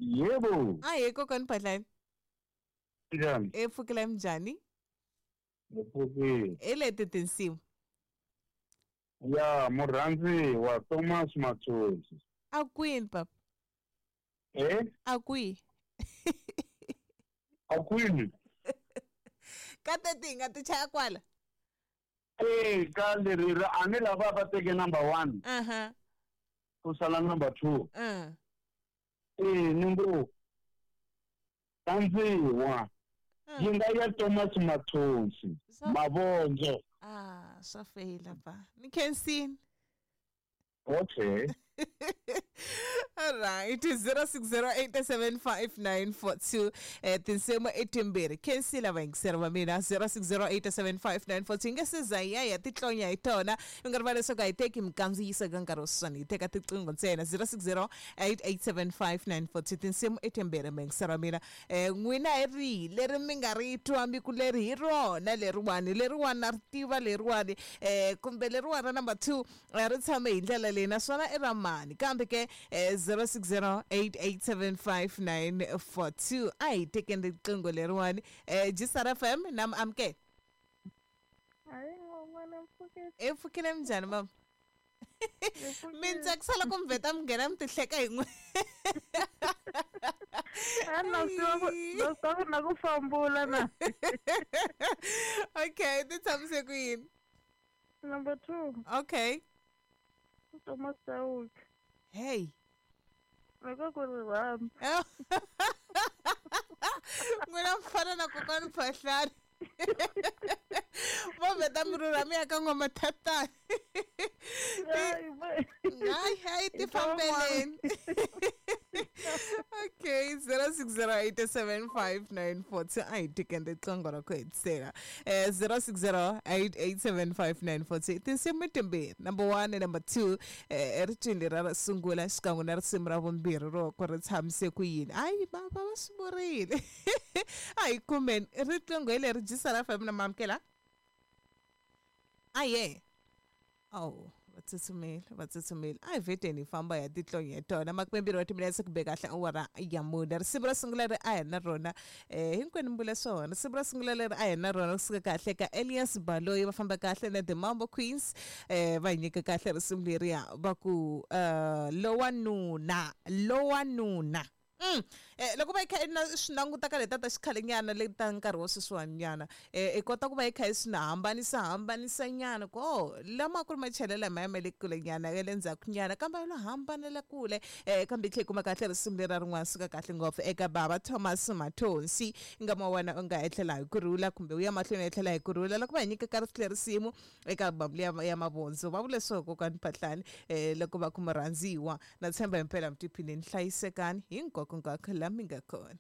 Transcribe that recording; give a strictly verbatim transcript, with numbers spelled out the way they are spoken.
Yebo. Ahee kokwani Phahlane. Njani? E pfukela minjhani? Ni pfukile. Hi leti tinsimu. Ya murhandziwa Thomas Matsotsi. A kwini papa? Eh? A kwihi? A kwini? Ka teti hi nga ti chaya kwala? Eh, ka leri ra a ni lava va teke number one. Aha. Ku sala number two. Uh. Eh, ni ngo tandziwa. Yi nga ya Thomas Matsotsi. Mavondzo. Ah, swa feyila pa. Ni khensini. Okay. All right, zero six zero eight seven five nine four two. Eh, tinsimu i timbirhi. Khensile vayingiseri va mina zero six zero eight seven five nine four two. Hi nga se za hi ya hi ya titlonya hi tona. Mi nga rivali leswaku a hi teki minkandziyiso eka nkarhi wa sweswiwani, hi teka tiqingho ntsena. zero six zero eight eight seven five nine four two. Tinsimu i timbirhi vayingiseri va mina. Eh, n'wina hi rihi leri mi nga ri twa mi ku leri hi rona leriwani, leriwani na ri tiva leriwani, eh, kumbe leriwani ra number two ri tshame hi ndlela leyi naswona i ra mani. Kambe ke eh, zero six zero eight eight seven five nine four two. A hi tekeni riqingho leriwani. Eh, G S R F M na mi amukela. E pfukile minjhani mama? Mi ni tsakisa loko mi vheta mi nghena mi ti hleka hi n'we. A na swi tiva ku na swi tiva ku na ku fambula na. Okay, ti tshamise ku yini? Number two. Okay. Thomas Chauke. Hey. Loko ku ri rhandza. N'wina mi fana na kokwani Phahlane. Vo vheta mi rhurha mi ya ka N'wamathatani. Hayi, hayi ti fambeleni. Okay, zero six zero eight seven five nine four two. A hi tekeni riqingho ra ku hetisela. Eh, zero six zero eight eight seven five nine four two. Tinsimu timbirhi, number one and number two. Eh, ricini ra sungula xikan'we na risimu ra vumbirhi ro ku ri tshamise ku yini. Hayi, va va va swi vurile. A hi kumeni riqingho hi leri G S R F M na mamukela. Aye. Oh, va tsutsumile, va tsutsumile. A hi vheteni hi famba hi ya titlonya hi tona. Makume mbirhi wa timinetse ku be kahle awara ya mune. Risimu ra sungula leri a hi na rona, eh, hinkwenu mi vula swona. Risimu ra sungula leri a hi na rona kusuka kahle ka Elias Baloyi, va famba kahle na The Mambo Queens. Eh, va hi nyika kahle risimu leriya va ku uh, lowanuna, lowanuna. Mm. Eh, loko va yi kha i na swi languta ka leta ta xikhalenyana leti ta nkarhi wa sweswiwani nyana, eh, i kota ku va yi kha yi swi na hambanisa hambanisa nyana ku oh lama ku ri machelelo lamaya ma le kule nyana ya le ndzhaku nyana kambe lo hambanela kule, eh, kambe yi tlhela yi kuma kahle risimu lera rin'wana suka kahle ngopfu eka bava Thomas Mathonsi. Nga ma wena u nga etlela hi kurhula kumbe u ya mahlweni u etlela hi kurhula. Loko va hi nyika ka risimu eka album liya ya Mavondzo, va vule swo kokwani Phahlane, eh, loko va ku murhandziwa na tshemba himpela mi tiphinini hlayisekani hinkwako hinkwako la mi nga kona.